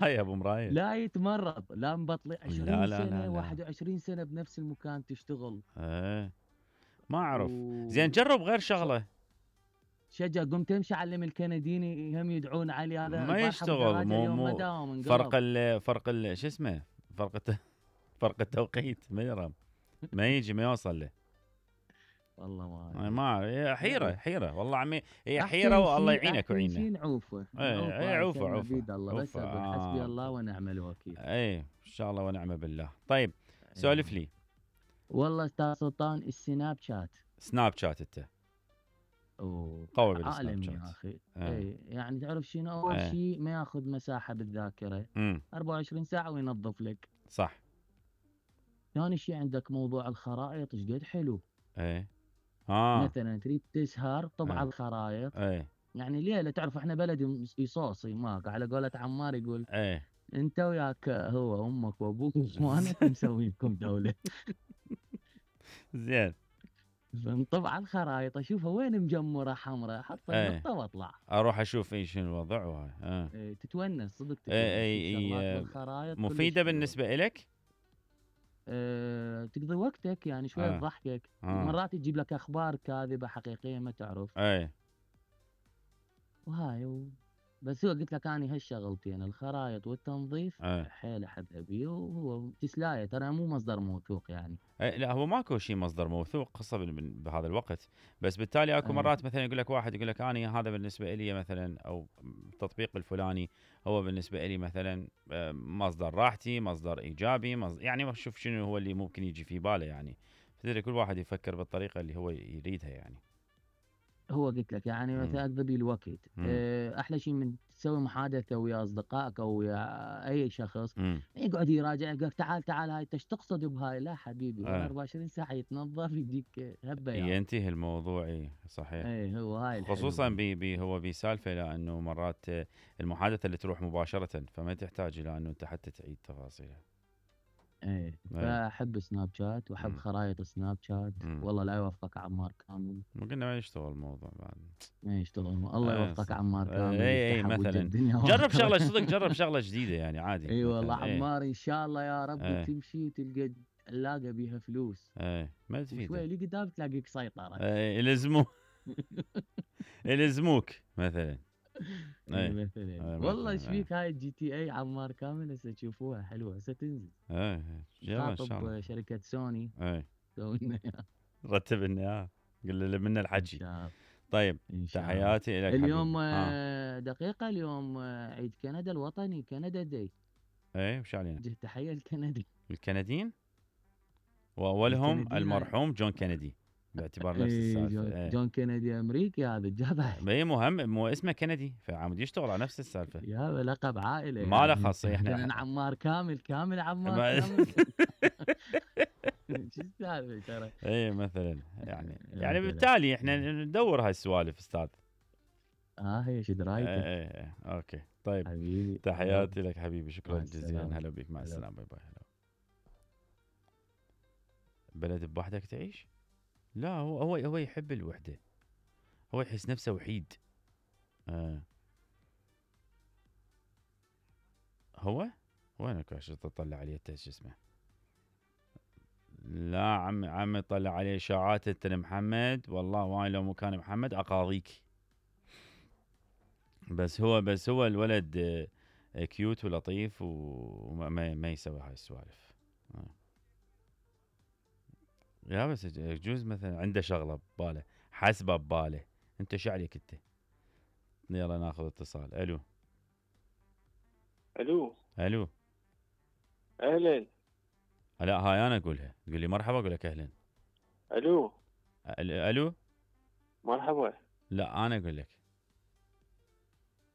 هاي ابو مرايد. لا يتمرض، لا مبطلي 20 لا لا لا سنة لا 21 سنة بنفس المكان تشتغل. ايه ما اعرف. زين و جرب غير شغله. شجع قمت تمشي علم الكنديني هم يدعون علي، هذا ما البارحة ابو يشتغل، دراجة مو اليوم ما مو داوم فرق انقلب. شو اسمه، فرق التوقيت ما يرى، ما يجي ما يوصل له. والله ما أنا ادري. ما أعرف. هي حيرة يلا حيرة والله عمي، هي حيرة احسن والله شيء، يعينك احسن ويعيننا. شيء نعوفه ايه نعوفه، ايه هاي عوفة كلمة عوفة بيد الله، بس عوفة اقول حسبي الله ونعم الوكيل. ايه ان شاء الله ونعم بالله. طيب سولف ايوه لي. والله استاذ سلطان، السناب شات سناب شات انت اوه قوي بالسناب عالمي يا شات. اخي. ايه اي يعني تعرف شنو، اول ايه شيء ما ياخذ مساحة بالذاكرة، امم 24 ساعة وينظف لك. صح. ثاني شيء عندك موضوع الخرائط، ايش قد حلو. ايه اه مثلا تريد تسهر طبع ايه الخرائط، ايه يعني ليلة، تعرف احنا بلد يصوصي ماك، على قولة عمار يقول ايه انت وياك هو امك وابوك واخوانك مسوي لكم دولة. زين. فنطبع الخرائط اشوفها وين مجمرة حمراء، احط ايه النقطة واطلع. اروح اشوف ايش الوضع وهاي إيه، تتونس صدق، ايه تتونس في شغلات ايه بالخرائط كلش مفيدة حلوة. بالنسبة إلك. تقضي وقتك يعني شوية اه تضحكك، اه مرات تجيب لك اخبار كاذبة حقيقية ما تعرف. ايه وهاي بس هو قلت لك اني هالشغلتين الخرايط والتنظيف ايه حيل احب بيه، وهو تسلاية ترى مو مصدر موثوق يعني. إيه، لا هو ماكو شيء مصدر موثوق خاصة بهذا الوقت. بس بالتالي اكو ايه مرات مثلا يقول لك واحد يقول لك انا هذا بالنسبة لي مثلا، او التطبيق الفلاني هو بالنسبة لي مثلا مصدر راحتي، مصدر ايجابي، يعني شوف شنو هو اللي ممكن يجي في باله يعني. فتدري كل واحد يفكر بالطريقة اللي هو يريدها يعني. هو قلت لك يعني امم مثلا اقضي الوقت. امم احلى شيء من تسوي محادثه ويا اصدقائك او ويا اي شخص، امم يقعد يراجع يقول لك تعال تعال هاي ايش تقصد بهاي، لا حبيبي والله ايه 24 ساعه يتنظف يجيك هالبياض. ينتهي الموضوع. إيه صحيح. اي هو هاي الحلو خصوصا بيه. بي هو بسالفه، لانه مرات المحادثه اللي تروح مباشره، فما تحتاج الى انه انت حتى تعيد تفاصيلها. ايه اي فاحب سناب شات واحب امم خرائط سناب شات. امم والله لا يوفقك عمار كامل. مو قلنا ما يشتغل الموضوع بعد. ما يشتغل، الله اي يوفقك صح. عمار كامل، اي يفتحها بوجه مثلا الدنيا جرب واخره. شغله صدق، جرب شغله جديده يعني عادي اي والله مثلا. اي عمار ان شاء الله يا رب اي تمشي تلقى علاقه بيها فلوس، اي ما وشوي تفيده. اللي قدام تلاقيك سيطرة. اي يلزموك مثلا. اي اي مثلا اي والله مثلا. ايش فيك، هاي الجي تي اي عمار كامل هسه تشوفوها حلوة، هسه تنزل. يلا ان شاء الله. خاطب شركة سوني اي سوي لنا إياها. رتب لنا اياها، قل له منا ان الحكي. شاء الله. طيب ان شاء الله. تحياتي لك اليوم حبيبي. ها دقيقة، اليوم عيد كندا الوطني، كندا داي. ايه وش علينا. وجه تحية لكندا. الكنديين، واولهم الكنديين المرحوم جون كينيدي، باعتبار نفس اي السالفه. ايه جون كينيدي امريكي هذا الجدع. هي مهم، مو اسمه كندي فعمود يشتغل على نفس السالفه. يا لقب عائلة ما له يعني. خاصيه احنا لكن عمار كامل، كامل عمار ما كامل. شو السالفة ترى. ايه مثلا يعني، مثلا بالتالي احنا ندور هاي السوالف استاذ. هي ايش ايه درايتك. ايه ايه اوكي طيب. حبيبي يلا، تحياتي لك حبيبي، شكرا مع جزيلا، السلامة. هلا بك، مع هلا. السلامه، باي باي. هلا. بلد بوحدك تعيش؟ لا هو يحب الوحده، هو يحس نفسه وحيد. آه. هو وينك عشان تطلع عليه شو اسمه؟ لا عمي طلع عليه اشاعات انت محمد، والله وانا لو مكان محمد اقاضيك. بس هو الولد كيوت ولطيف وما ما يسوي هاي السوالف. يا بس يجوز مثلا عنده شغله بباله، حسبه بباله. انت شو عليك انت؟ يلا ناخذ اتصال. الو الو الو. اهلا. لا هاي انا اقولها، تقول لي مرحبا اقول لك اهلا. الو الو. مرحبا. لا انا اقول لك.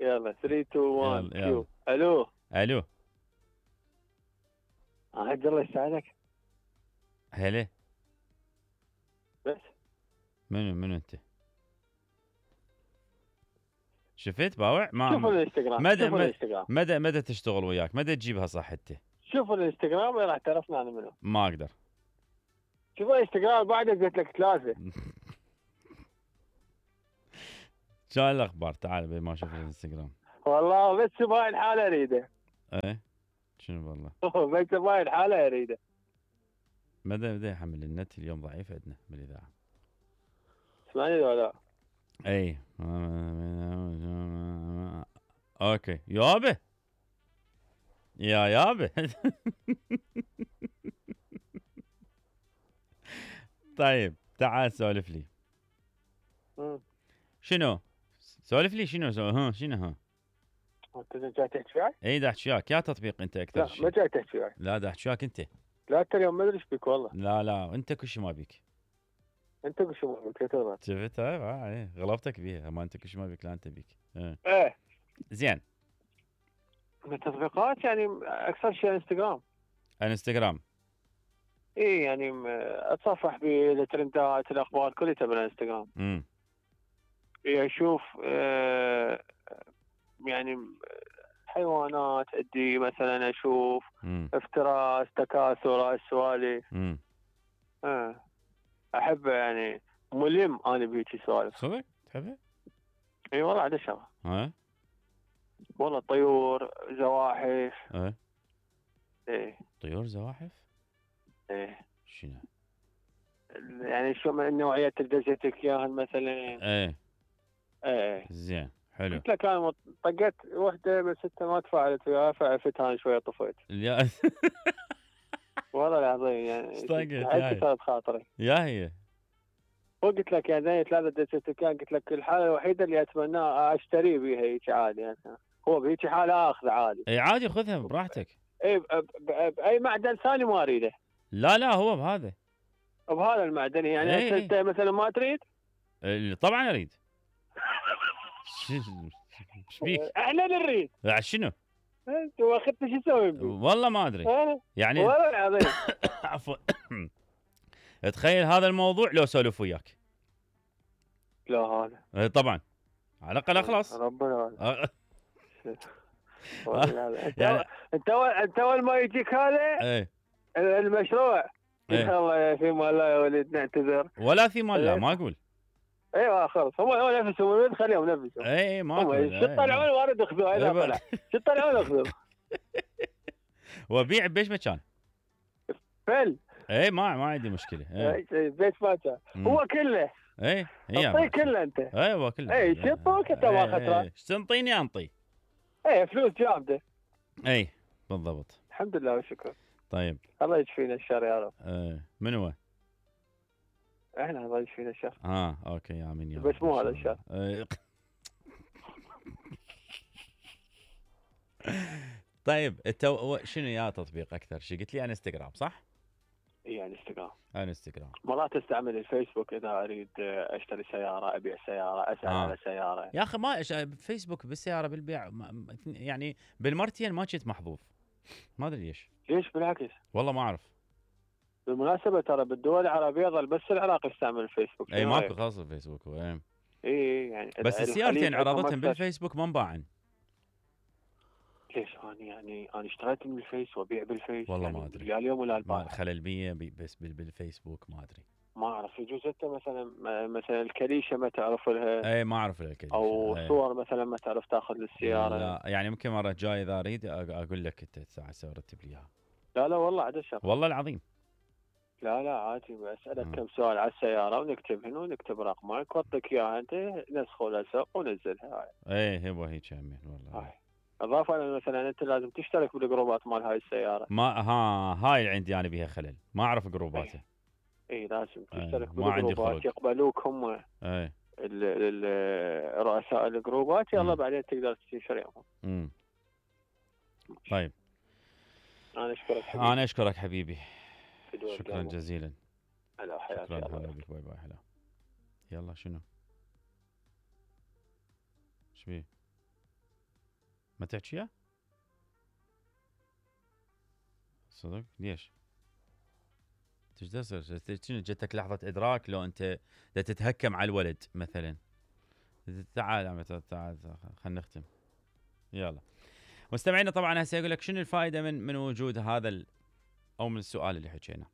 يلا 3 2 1 يلا يلا. كيو. الو الو. عبد الله يساعدك هلا. بس. منو انت؟ شفت باوع شوف ما الانستغرام، مدى شوف الانستغرام، مدى تشتغل وياك، مدى تجيبها صح انت. شوف الانستغرام راح تعرفنا انا منو. ما اقدر. شوف الانستغرام بعدك قلت لك ثلاثة. شو الاخبار؟ تعال ما اشوف الانستغرام. والله بس بهاي الحالة اريده. ايه شنو والله بس باين حاله يريده. بدا يحمل النت اليوم ضعيف عندنا بالاذاعه. تسمعني ولا لا؟ اي اوكي يابا يابا طيب تعال سولف لي مم. شنو سولف لي شنو ها شنو ها انت جاي تحكي وياي؟ اي دا احكي وياك يا تطبيق انت اكثر لا شيء. ما جاي تحكي وياي. لا دا احكي وياك انت. لا انت اليوم ما ادري ايش بك والله. لا انت كل شيء ما بيك. انت كل شيء ما بك تغلط. شفت ايه غلبتك بيها ما انت كل شيء ما بيك لا انت بيك. ايه زين من التطبيقات يعني اكثر شيء انستغرام. انستغرام اي يعني اتصفح بالترندات الاخبار كلها من انستغرام. اشوف يعني حيوانات ادي مثلا اشوف افتراس تكاثر السوالف. احب يعني ملم انا بهيجي سوالف. صدق تحبه؟ اي والله عاد شغله. والله طيور زواحف. ايه طيور زواحف؟ ايه شنو؟ يعني شو من النوعيات اللي دزيتك اياها مثلا. ايه زين حلو. قلت لك انا طقيت وحده من 6 ما تفاعلت وياها فعفتها انا شويه طفيت. والله العظيم يعني طقت صارت خاطري. يا هي وقلت لك يعني زي 3 دزيتك قلت لك الحاله الوحيده اللي اتمناها اشتري بها هيك عادي يعني. هو بهيك حاله اخذ عادي. اي عادي خذها براحتك. اي باي معدن ثاني ما اريده. لا هو بهذا. بهذا المعدن يعني انت مثلا ما تريد؟ طبعا اريد. ايش بيك؟ احنا نريد. شنو؟ انت واخذت شو تسوي بي؟ والله ما ادري. يعني والله العظيم. عفوا تخيل هذا الموضوع لو سولف وياك. لا هذا. طبعا على الاقل اخلص. ربنا يعني انت اول ما يجيك هذا المشروع ان شاء الله في مال الله يا ولد نعتذر. ولا في مال لا ما اقول. ايوه خلص هم نفسهم خليهم نفسهم. ما اقول. شو طلعون وارد اخذوه اذا طلع شو طلعون اخذوه. وابيع بايش مكان؟ فل. ما عندي مشكله. بيت مكان هو كله. هي اعطيه كله انت. هو كله. شطوك انت ما خسران. ايش تنطيني انطي. فلوس جامده. بالضبط. الحمد لله والشكر. طيب الله يشفينا الشر يا رب. من هو؟ احنا الله يشفينا الشر. اوكي امين يا رب. بس مو هذا الشر. طيب انت شنو يا تطبيق اكثر شيء؟ قلت لي انستغرام صح؟ اي انستغرام. مرات استعمل الفيسبوك اذا اريد اشتري سياره ابيع سياره اسال على سياره. يا اخي ما فيسبوك بالسياره بالبيع يعني بالمرتين ما كنت محظوظ ما ادري ليش بالعكس والله ما اعرف. بالمناسبه ترى بالدول العربيه ظل بس العراق يستعمل الفيسبوك. ماكو خاص الفيسبوك يعني بس السيارتين عرضتهم بالفيسبوك ما انباعن. ليش انا اشتريت من الفيس وابيع بالفيس والله يعني ما ادري يا اليوم ولا البارحه. خلل 100 بس بالفيسبوك ما ادري. ما اعرف يجوز انت مثلا الكليشه ما تعرف لها. ما اعرف الكليشه. او صور مثلا ما تعرف تاخذ للسياره. لا يعني يمكن مره جاي اذا اريد اقول لك انت الساعه رتب لي اياها. لا والله عاد الشر. والله العظيم. لا عادي بسألك كم سؤال على السيارة ونكتب هنا ونكتب رقمك واعطيك اياها انت نسخه لسق ونزلها. هو هيك همين والله. اضافة مثلا انت لازم تشترك بالجروبات مال هاي السيارة. ما هاي اللي عندي انا بيها خلل ما اعرف جروباتها. لازم تشترك بالجروبات يقبلوك هم. رؤساء الجروبات يلا بعدين تقدر تشتريهم. طيب انا اشكرك حبيبي. شكرا جزيلا. هلا حياتي. شكرا هلا بك باي هلا. يلا شنو؟ ايش بيه؟ ما تحكيها؟ صدق؟ ليش؟ شنو جتك لحظة إدراك لو أنت تتهكم على الولد مثلا؟ تعال خلينا نختم. يلا مستمعينا طبعا هسه يقول لك شنو الفائدة من وجود هذا أو من السؤال اللي حكينا.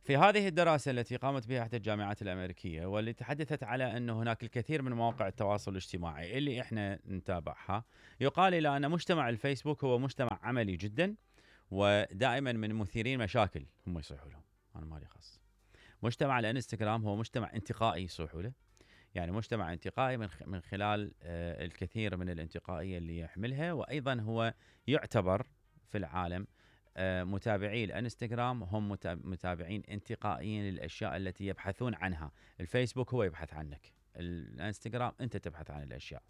في هذه الدراسة التي قامت بها إحدى الجامعات الأمريكية واللي تحدثت على أن هناك الكثير من مواقع التواصل الاجتماعي اللي إحنا نتابعها، يقال إلى أن مجتمع الفيسبوك هو مجتمع عملي جدا، ودائما من مثيرين مشاكل هم يصيحوا لهم، أنا مالي خاص. مجتمع الانستغرام هو مجتمع انتقائي يصيحوا له، يعني مجتمع انتقائي من خلال الكثير من الانتقائية اللي يحملها، وأيضا هو يعتبر في العالم متابعي الانستغرام هم متابعين انتقائيين للأشياء التي يبحثون عنها. الفيسبوك هو يبحث عنك، الانستغرام أنت تبحث عن الأشياء.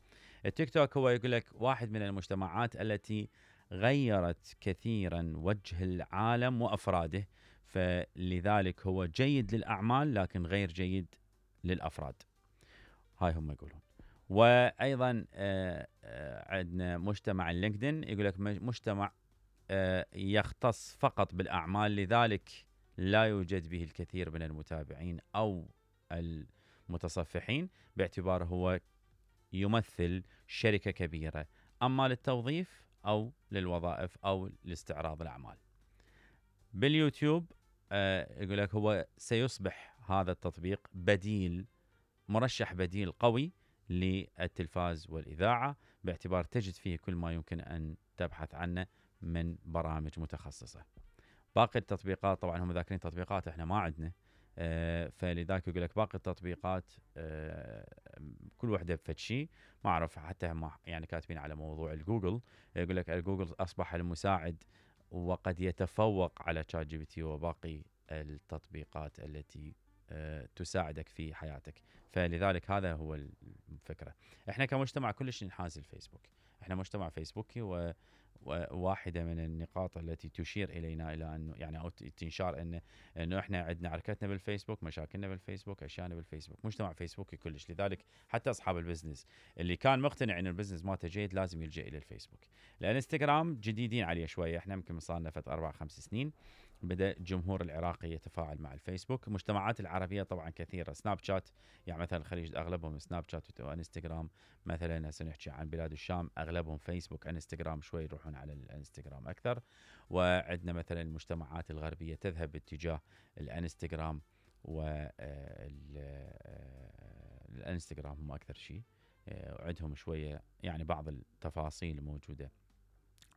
التيك توك هو يقول لك واحد من المجتمعات التي غيرت كثيرا وجه العالم وأفراده، فلذلك هو جيد للأعمال لكن غير جيد للأفراد، هاي هم يقولون. وأيضا عندنا مجتمع اللينكدين، يقول لك مجتمع يختص فقط بالأعمال، لذلك لا يوجد به الكثير من المتابعين أو المتصفحين، باعتباره هو يمثل شركة كبيرة، أما للتوظيف أو للوظائف أو لاستعراض الأعمال. باليوتيوب يقول لك هو سيصبح هذا التطبيق بديل، مرشح بديل قوي للتلفاز والإذاعة، باعتبار تجد فيه كل ما يمكن أن تبحث عنه من برامج متخصصة. باقي التطبيقات طبعا هم ذاكرين تطبيقات احنا ما عندنا، فلذلك يقول لك باقي التطبيقات كل وحده بفد شيء، ما اعرف حتى هم يعني كاتبين على موضوع الجوجل، يقول لك الجوجل اصبح المساعد وقد يتفوق على تشات جي بي تي وباقي التطبيقات التي تساعدك في حياتك، فلذلك هذا هو الفكرة. احنا كمجتمع كلش ننحاز الفيسبوك، احنا مجتمع فيسبوكي، وواحدة من النقاط التي تشير إلينا إلى أنه يعني أو تنشار أنه إحنا عندنا عركتنا بالفيسبوك، مشاكلنا بالفيسبوك، أشياءنا بالفيسبوك، مجتمع فيسبوكي كلش. لذلك حتى أصحاب البزنس اللي كان مقتنع أن البزنس مالته جيد لازم يلجأ إلى الفيسبوك. الانستغرام جديدين عليه شوية، إحنا يمكن صارنا فت 4-5 سنين بدأ الجمهور العراقي يتفاعل مع الفيسبوك. المجتمعات العربية طبعا كثيرة، سناب شات يعني مثلا الخليج أغلبهم سناب شات وانستغرام، مثلا هسه نحكي عن بلاد الشام أغلبهم فيسبوك، انستغرام شوي يروحون على الانستغرام أكثر. وعندنا مثلا المجتمعات الغربية تذهب باتجاه الانستغرام، والانستغرام هم أكثر شيء، وعندهم شوية يعني بعض التفاصيل موجودة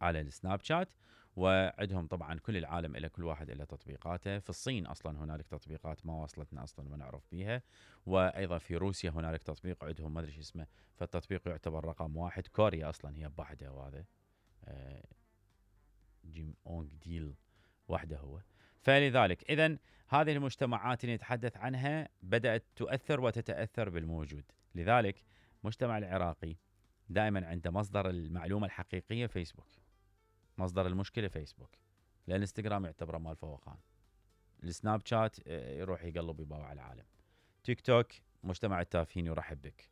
على السناب شات، وعندهم طبعا كل العالم إلى كل واحد إلى تطبيقاته. في الصين أصلا هنالك تطبيقات ما وصلتنا أصلا ما نعرف بيها، وأيضا في روسيا هنالك تطبيق عندهم ما أدري شو اسمه، فالتطبيق يعتبر رقم 1. كوريا أصلا هي بوحده، وهذا جيم أونغ ديل وحده هو. فلذلك إذن هذه المجتمعات اللي نتحدث عنها بدأت تؤثر وتتأثر بالموجود. لذلك المجتمع العراقي دائما عنده مصدر المعلومة الحقيقية فيسبوك، مصدر المشكلة فيسبوك. الانستغرام يعتبره مال فوقان، السناب شات يروح يقلب يباوع العالم، تيك توك مجتمع التافهين يرحب بك،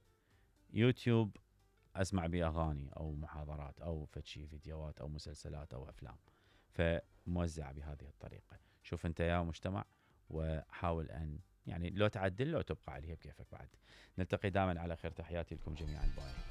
يوتيوب اسمع بيه اغاني او محاضرات او فتشي فيديوهات او مسلسلات او افلام، فموزع بهذه الطريقة. شوف انت يا مجتمع وحاول ان يعني لو تعدل لو تبقى عليها بكيفك. بعد نلتقي دائما على خير، تحياتي لكم جميعا، باي.